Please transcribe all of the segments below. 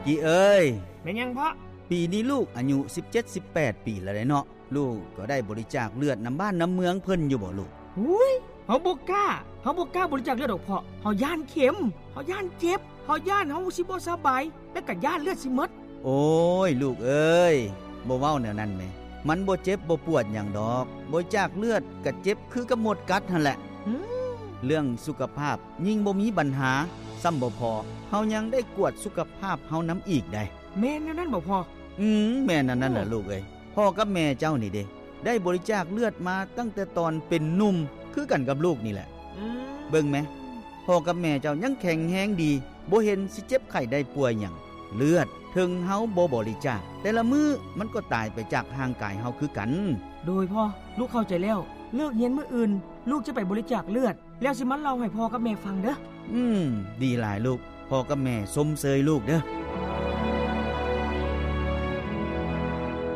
ກີເອີຍ. ແມ່ນຫຍັງພໍ່? ປີນີ້ລູກອາຍຸສິບເຈັດ ສິບແປດປີແລ້ວເດເນາະ. ລູກກໍໄດ້ບໍລິຈາກເລືອດນຳບ້ານນຳເມືອງເພິ່ນຢູ່ບໍ່ລູກ? ອຸ້ຍ ເຮົາບໍ່ກ້າ, ເຮົາບໍ່ກ້າບໍລິຈາກເລືອດດອກພໍ່. ເຮົາຢ້ານເຂັມ, ເຮົາຢ້ານເຈັບ, ເຮົາຢ້ານເຮົາຊິບໍ່ສະບາຍ ແລ້ວກໍຢ້ານເລືອດຊິໝົດ. ໂອ້ຍ ລູກເອີຍ, ບໍ່ເວົ້າແນວນັ້ນແມ. ມັນບໍ່ເຈັບບໍ່ປວດຫຍັງດອກ. ບໍລິຈາກເລືອດກໍເຈັບຄືກັບມົດກັດຫັ້ນແຫຼະ. ອືມ ເລື່ອງສຸຂະພາບຍິ່ງບໍ່ມີບັນຫາ. ຊ້ຳບໍ່ພໍ, ເຮົາຍັງໄດ້ກວດສຸຂະພາບເຮົານຳອີກໃດ໋. ແມ່ນແນວນັ້ນບໍ່ພໍ່? ອືມ ແມ່ນອັນນັ້ນແຫຼະ ອືມ ລູກເອີຍ. ພໍ່ກັບແມ່ເຈົ້ານີ້ເດ້ ໄດ້ບໍລິຈາກເລືອດມາຕັ້ງແຕ່ຕອນເປັນໜຸ່ມ ຄືກັນກັບລູກນີ້ແຫຼະ. ອືມ ເບິ່ງແມ, ພໍ່ກັບແມ່ເຈົ້າຍັງແຂງແຮງດີ, ບໍ່ເຫັນຊິເຈັບໄຂ້ໄດ້ປ່ວຍຫຍັງ. ເລືອດ ເຖິງເຮົາບໍ່ບໍລິຈາກ, ແຕ່ລະມື້ມັນກໍຕາຍໄປຈາກຮ່າງກາຍເຮົາຄືກັນ. ໂດຍພໍ່, ລູກເຂົ້າໃຈແລ້ວ. ເລີກຮຽນມື້ອື່ນ, ລູກຈະໄປບໍລິຈາກເລືອດ. ແລ້ວຊິມາເລົ່າໃຫ້ພໍ່ກັບແມ່ຟັງເດີ້. ອືມ ດີຫຼາຍລູກ, ພໍ່ກັບແມ່ຊົມເຊີຍລູກເດີ້.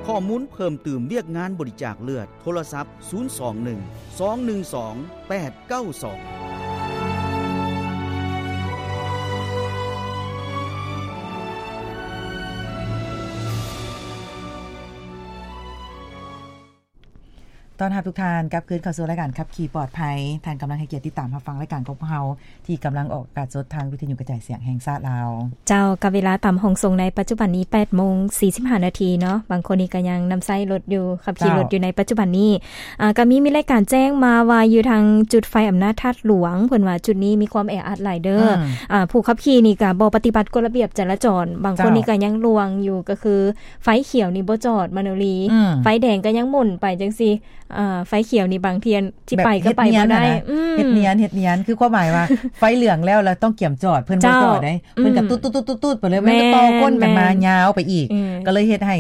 ຂໍ້ມູນເພີ່ມຕື່ມວຽກງານບໍລິຈາກເລືອດ, ໂທລະສັບ ສູນສອງໜຶ່ງ ສອງໜຶ່ງສອງ ແປດເກົ້າສອງ. ຕ້ອນຮັບທຸກທ່ານກັບຄືນເຂົ້າສູ່ລາຍການຂັບຂີ່ປອດໄພ. ທ່ານກຳລັງໃຫ້ກຽດຕິດຕາມຮັບຟັງລາຍການຂອງພວກເຮົາ ທີ່ກຳລັງອອກອາກາດສົດທາງວິທະຍຸກະຈາຍສຽງແຫ່ງຊາດລາວ. ເຈົ້າ, ກັບເວລາຕາມຫ້ອງສົ່ງໃນປັດຈຸບັນນີ້ ແປດໂມງສີ່ສິບຫ້ານາທີເນາະ. ບາງຄົນນີ້ກໍຍັງນຳໃຊ້ລົດຢູ່, ຂັບຂີ່ລົດຢູ່ໃນປັດຈຸບັນນີ້. ເຈົ້າ. ອ່າ, ກໍມີ, ມີລາຍການແຈ້ງມາວ່າຢູ່ທາງຈຸດໄຟອຳນາດທາດຫຼວງ, ເພິ່ນວ່າຈຸດນີ້ມີຄວາມແອອັດຫຼາຍເດີ້. ອືມ. ອ່າ, ຜູ້ຂັບຂີ່ນີ້ກໍບໍ່ປະຕິບັດກົດລະບຽບຈະລາຈອນ. ບາງຄົນນີ້ ເຈົ້າ ກໍຍັງລວງຢູ່, ກໍຄື ໄຟຂຽວນີ້ບໍ່ຈອດ ມະໂນລີ, ອືມ ໄຟແດງກໍຍັງໝຸນໄປຈັ່ງຊີ້. ອ່າ, ໄຟຂຽວນີ້ບາງເທື່ອຊິໄປກໍໄປບໍ່ໄດ້. ແບບເຮັດນຽນຫັ້ນນະ. ອືມ ເຮັດນຽນ, ເຮັດນຽນ ຄືຄວາມໝາຍວ່າ ໄຟເຫຼືອງແລ້ວ ແລ້ວຕ້ອງກຽມຈອດ, ເພິ່ນບໍ່ຈອດເດ້. ເຈົ້າ. ອືມ ເພິ່ນກໍຕຸດໆໆໆໄປເລີຍ, ແມ່ນ ມັນກໍຕໍ່ກົ້ນກັນມາ ແມ່ນ ຍາວໄປອີກ. ອືມ ກໍເລີຍເຮັດໃຫ້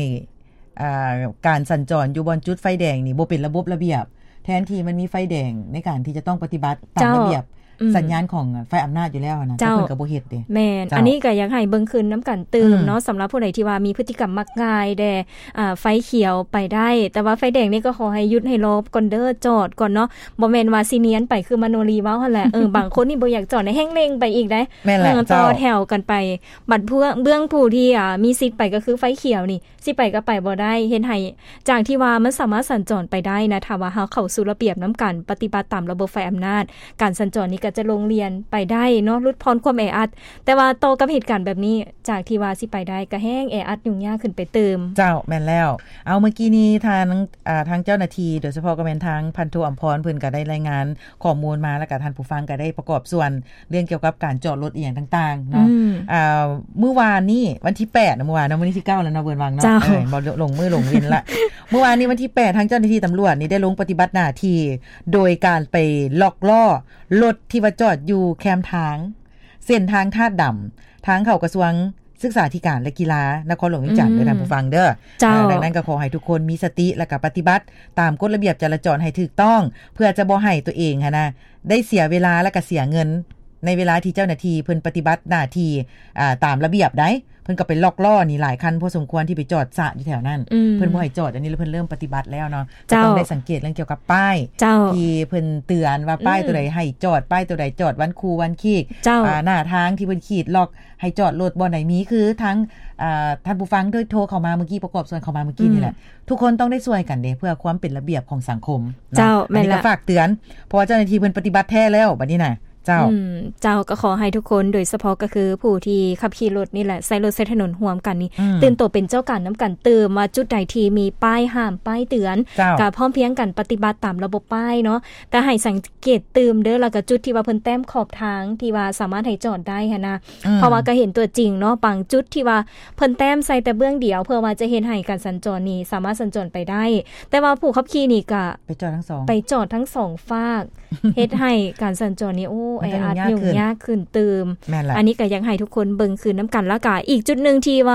ອ່າ ການສັນຈອນຢູ່ບ່ອນຈຸດໄຟແດງນີ້ບໍ່ເປັນລະບົບລະບຽບ, ແທນທີ່ມັນມີໄຟແດງໃນການທີ່ຈະຕ້ອງປະຕິບັດຕາມ ເຈົ້າ ລະບຽບ ອືມ ສັນຍານຂອງໄຟອຳນາດຢູ່ແລ້ວຫັ້ນນະ, ເຈົ້າ ແຕ່ເພິ່ນກໍບໍ່ເຮັດເດ້. ແມ່ນ. ເຈົ້າ. ອັນນີ້ກໍຢາກໃຫ້ເບິ່ງຄືນນຳກັນຕື່ມເນາະ, ອືມ ສຳລັບຜູ້ໃດທີ່ວ່າມີພຶດຕິກຳມັກງ່າຍແດ່. ອ່າ ໄຟຂຽວໄປໄດ້, ແຕ່ວ່າໄຟແດງນີ້ກໍຂໍໃຫ້ຢຸດໃຫ້ລໍກ່ອນເດີ້, ຈອດກ່ອນເນາະ. ບໍ່ແມ່ນວ່າຊິນຽນໄປຄືມະໂນລີເວົ້າຫັ້ນແຫຼະ. ເອີ ບາງຄົນນີ້ບໍ່ຢາກຈອດ, ແຮ່ງເລັ່ງໄປອີກໄດ໋. ແມ່ນແຫຼະ. ເອີ ເຈົ້າ. ຕໍ່ແຖວກັນໄປ. ບັດເພື່ອ ເບື້ອງຜູ້ທີ່ ອ່າ ມີສິດໄປກໍຄືໄຟຂຽວນີ້ ຊິໄປກໍໄປບໍ່ໄດ້, ເຮັດໃຫ້ ຈາກທີ່ວ່າມັນສາມາດສັນຈອນໄປໄດ້ນະ, ຖ້າວ່າເຮົາເຂົ້າສູ່ລະບຽບນຳກັນ, ປະຕິບັດຕາມລະບົບໄຟອຳນາດ, ການສັນຈອນນີ້ກໍຈະໂລ່ງລ່ຽນໄປໄດ້ເນາະ, ຫຼຸດຜ່ອນຄວາມແອອັດ. ແຕ່ວ່າຕໍ່ກັບເຫດການແບບນີ້, ຈາກທີ່ວ່າຊິໄປໄດ້, ກໍແຮ່ງແອອັດຫຍຸ້ງຍາກຂຶ້ນໄປຕື່ມ. ເຈົ້າ, ແມ່ນແລ້ວ. ເອົາ, ມື້ກີ້ນີ້ທາງ ອ່າ ທາງເຈົ້າໜ້າທີ່, ໂດຍສະເພາະກໍແມ່ນທາງພັນໂທອຳພອນ, ເພິ່ນກໍໄດ້ລາຍງານຂໍ້ມູນມາ, ແລ້ວກໍທ່ານຜູ້ຟັງກໍໄດ້ປະກອບສ່ວນ ເລື່ອງກ່ຽວກັບການຈອດລົດອີ່ຫຍັງຕ່າງໆເນາະ. ອືມ ອ່າ ມື້ວານນີ້ວັນທີແປດເນາະ, ມື້ວານເນາະ, ມື້ນີ້ທີເກົ້າແລ້ວເນາະ ເວີນວັງເນາະ. ເຈົ້າ. ເອີ ບໍ່ ຫຼົງມື້ຫຼົງເວັນລະ. ມື້ວານນີ້ວັນທີແປດ ທາງເຈົ້າໜ້າທີ່ຕຳຫຼວດນີ້ໄດ້ລົງປະຕິບັດໜ້າທີ່ ໂດຍການໄປລັອກລໍ້ລົດທີ່ວ່າຈອດຢູ່ແຄມທາງ ເສັ້ນທາງທາດດຳ ທາງເຂົ້າກະຊວງ ສຶກສາທິການ ແລະ ກິລາ ນະຄອນຫຼວງວຽງຈັນ ອືມ ເດີທ່ານຜູ້ຟັງເດີ. ເຈົ້າ. ເອີ ດັ່ງນັ້ນກໍຂໍໃຫ້ທຸກຄົນມີສະຕິ ແລະ ກໍປະຕິບັດຕາມກົດລະບຽບຈະລາຈອນໃຫ້ຖືກຕ້ອງ ເພື່ອຈະບໍ່ໃຫ້ຕົວເອງຫັ້ນນະ ໄດ້ເສຍເວລາ ແລະ ກໍເສຍເງິນ ໃນເວລາທີ່ເຈົ້າໜ້າທີ່ເພິ່ນປະຕິບັດໜ້າທີ່ ອ່າ ຕາມລະບຽບໃດ໋. ເພິ່ນກໍໄປລັອກລໍ້ນີ້ຫຼາຍຄັນພໍສົມຄວນທີ່ໄປຈອດຊະຢູ່ແຖວນັ້ນ. ອືມ. ເພິ່ນບໍ່ໃຫ້ຈອດ, ອັນນີ້ລະເພິ່ນເລີ່ມປະຕິບັດແລ້ວເນາະ. ເຈົ້າ. ກໍຕ້ອງໄດ້ສັງເກດເລື່ອງກ່ຽວກັບປ້າຍ ເຈົ້າ ທີ່ເພິ່ນເຕືອນວ່າປ້າຍ ອືມ ຕົວໃດໃຫ້ຈອດ, ປ້າຍຕົວໃດຈອດວັນຄູວັນຄີກ. ເຈົ້າ. ອ່າ ໜ້າທາງທີ່ເພິ່ນຂີດລັອກ ໃຫ້ຈອດລົດບ່ອນໃດມີ ຄືທາງ ອ່າ ທ່ານຜູ້ຟັງໂດຍໂທເຂົ້າມາມື້ກີ້, ປະກອບສ່ວນເຂົ້າມາມື້ກີ້ນີ້ແຫຼະ. ອືມ. ທຸກຄົນຕ້ອງໄດ້ຊ່ວຍກັນເດ້ ເພື່ອຄວາມເປັນລະບຽບຂອງສັງຄົມເນາະ. ເຈົ້າ. ອັນນີ້ກໍ ແມ່ນລະ ຝາກເຕືອນ ເພາະວ່າເຈົ້າໜ້າທີ່ເພິ່ນປະຕິບັດແທ້ແລ້ວບັດນີ້ນະ. ເຈົ້າ. ອືມ. ເຈົ້າ. ກໍຂໍໃຫ້ທຸກຄົນ ໂດຍສະເພາະກໍຄືຜູ້ທີ່ຂັບຂີ່ລົດນີ້ແຫຼະ, ໃຊ້ລົດໃຊ້ຖະໜົນຮ່ວມກັນນີ້ ອືມ ຕື່ນໂຕເປັນເຈົ້າການນຳກັນຕື່ມ ວ່າຈຸດໃດທີ່ມີປ້າຍຫ້າມ, ປ້າຍເຕືອນ. ເຈົ້າ. ກໍພ້ອມພຽງກັນປະຕິບັດຕາມລະບົບປ້າຍເນາະ, ແຕ່ໃຫ້ສັງ ເກດຕື່ມເດີ ແລ້ວກໍຈຸດທີ່ວ່າເພິ່ນແຕ້ມຂອບທາງ ທີ່ວ່າສາມາດໃຫ້ຈອດໄດ້ຫັ້ນນະ. ອືມ. ເພາະວ່າກໍເຫັນຕົວຈິງເນາະ, ບາງຈຸດທີ່ວ່າເພິ່ນແຕ້ມໃສ່ແຕ່ເບື້ອງດຽວ ເພື່ອວ່າຈະເຮັດໃຫ້ການສັນຈອນນີ້ສາມາດສັນຈອນໄປໄດ້, ແຕ່ວ່າຜູ້ຂັບຂີ່ນີ້ກໍໄປຈອດທັງສອງ ໄປຈອດທັງສອງຟາກ ເຮັດໃຫ້ການສັນຈອນນີ້ ໂອ້ ແອອັດ ຫຍຸ້ງຍາກຂຶ້ນຕື່ມ. ແມ່ນລະ. ອັນນີ້ກໍຢາກໃຫ້ທຸກຄົນເບິ່ງຄືນນຳກັນ. ແລ້ວກໍອີກຈຸດໜຶ່ງທີ່ວ່າ